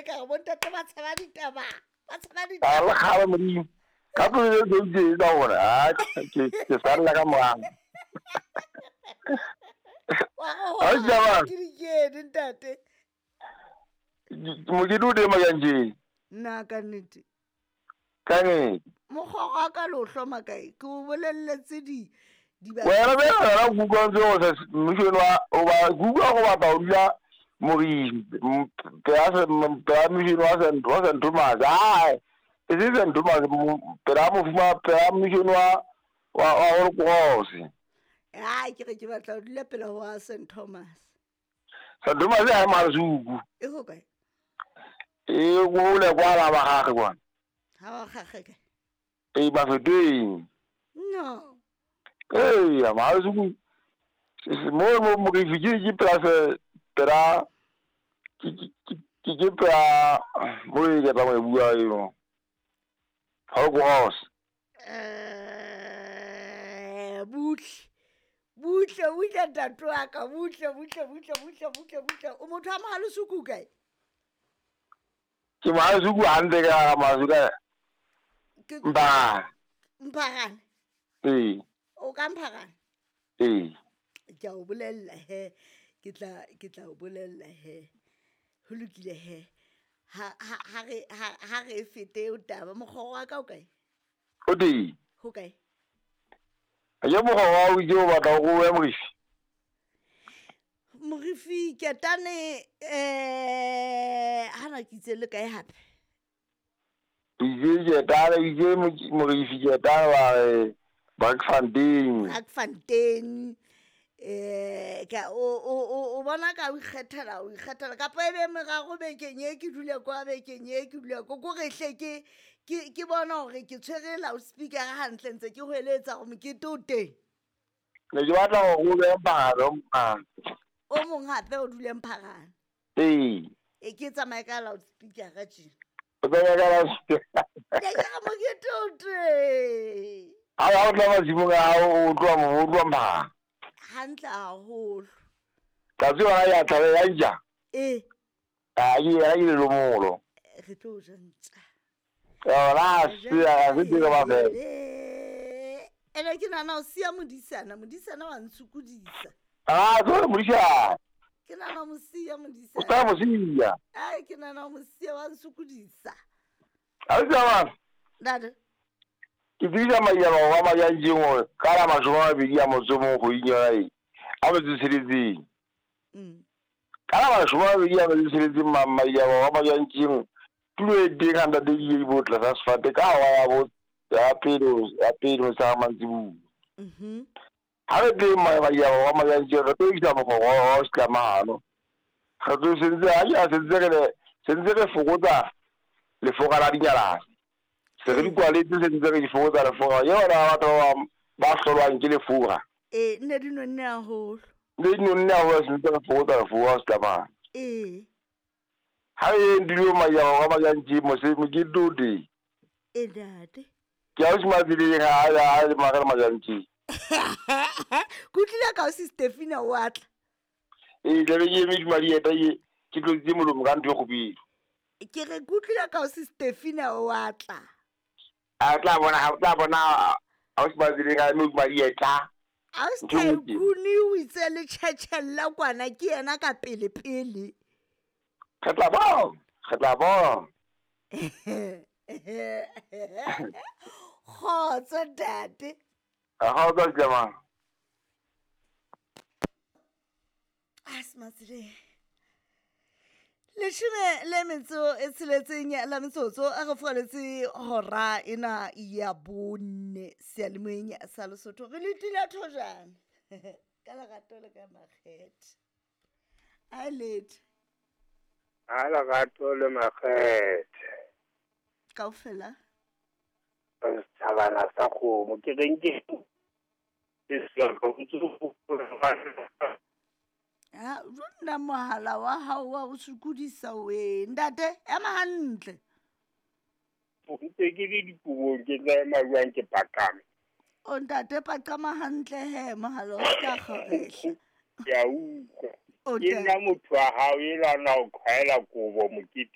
ka re bontate ba tshaba ditaba ba tshaba A ditaba le kgale modimo ka pelo e tse tsa gore a ke salla ka morago. Wa Ha o tjaba. ke dikene ntate. Mokete o teng Majantjeng. Nna ka nnete. Ka nnete. Mokgwa wa ka le o hloma kae? Ke o bolelletse di Wena be wena o kutlwa ntse o sa mmušong wa o ba kutlwa go batla o dula Morifi pela mmušong wa St Thomas. Ai, e se St Thomas pela mofuma pela mmušong wa Holy Cross. Ai, ke re ke batla ho dula pela ho wa St Thomas. St Thomas ha e Masuku. E ho kae? E go le kwa la ba gagwe kwa. Ha wa gagwe kae? E Mafeteng. No. Ee, Masuku mo mo Morifi ke pela pela ke pela mo e ke tla go e bua eo. Holy Cross. Butle. Butle, butle ntate wa ka, butle, butle, butle, butle, butle, butle. O motho wa Mohalesuku kae? Ke Mohalesuku hantle ka Mohalesuku ka. Ke Mpharane. Mpharane? Ee. O ka Mpharane? Ee. Ke a o bolella he. Ke tla o bolella he. Ho lokile he. Ha re fete o taba mokgwa wa ka o kae? O teng. Ho kae? Ya mokgwa wa o itse o batla go ya Morifi. Morifi ketane hana ke itse le kae hape? Itse ketane itse Morifi ketane wa Brakfontein. Brakfontein. Ka o bona ka o ikgethela kapa ebe meraro bekeng e ke dule kwa bekeng e ke dule ko re hle ke bona hore ke tshwere loudspeaker hantle ntse ke hweletsa hore mokete o teng. Ne ke batla hore o be Mpharane. O mong hape o dule Mpharane. Ee. E ke tsamaye ka loudspeaker tje. O tsamaye ka loudspeaker. Ke re mokete o teng. Ha o tla masimong a hao o tloha Mpharane. Hantle haholo. Tsatsi yona ya tlabe ya ntja. Ee. A ke yena ke lelomolo. Re tlo ja ntja. Yona se a se dire ba fela. Ene ke nahana o siya modisana, modisana wa ntshokodisa. Ah, tlo modisana. Ke nahana mo siya modisana. O tla mo siya. Ai, ke nahana mo siya wa ntshokodisa. A o tsama. Ntate. Ke tsebisa maiyaba wa Majantjeng hore ka la 20 a motso mong kgweding yona e a metso tsheletseng. Ka la 20 a metso tsheletseng maiyaba wa Majantjeng tulo e teng ha ntate ke bo tlasa sefate ka hora ya pele motshehare mantsibuya. Ha re teng maiyaba wa Majantjeng re tlo isa mokgwa wa setlamahano. Re tlo sentse re fokotsa lefoka la dinyalane. Se re di kwaletse se ntse re di fokotsa lefoka. Yona batho ba hlolwang ke lefoka. Ee, nne di nonne haholo. Ne di nonne haholo se ntse re fokotsa lefoka setlamahano. Ee. Ha e ndilo maiyaba wa Majantjeng mokete o teng. Ee ntate. Ke a o se matseleng ha le magare Majantjeng. Ke utlwile ka o se Stefina o atla. Ee, tlabe ke eme dimadieta ke tlotsitse molomo ka ntho e kgubedu. Ke re ke utlwile ka o se Stefina o atla. A tla bona ha tla bona ha o se matseleng ha eme dimadieta. A o se Tycoon o itse le tjhetjhella kwana ke yena ka pele pele. Re tla bona. Kgotso ntate. Kgotso Tlemang. A se matseleng. 16 la metsotso a re furaletse hora ena ya 4 seyalemoyeng sa Lesotho. Re letile thojana ka lerato le ka makgethe. A lete. A lerato le makgethe. Kaofela. Setjhabana sa kgomo ke reng ke Ha rona mohala wa hao wa o sokodisa we ntate ema hantle. O ntse ke le dikobong ke tla ema jwang ke paqame. O ntate paqama hantle he mohala o ska kgorehla. Ke a utlwa. Ke nna motho wa hao e lwana o qhwaela kobo mokete.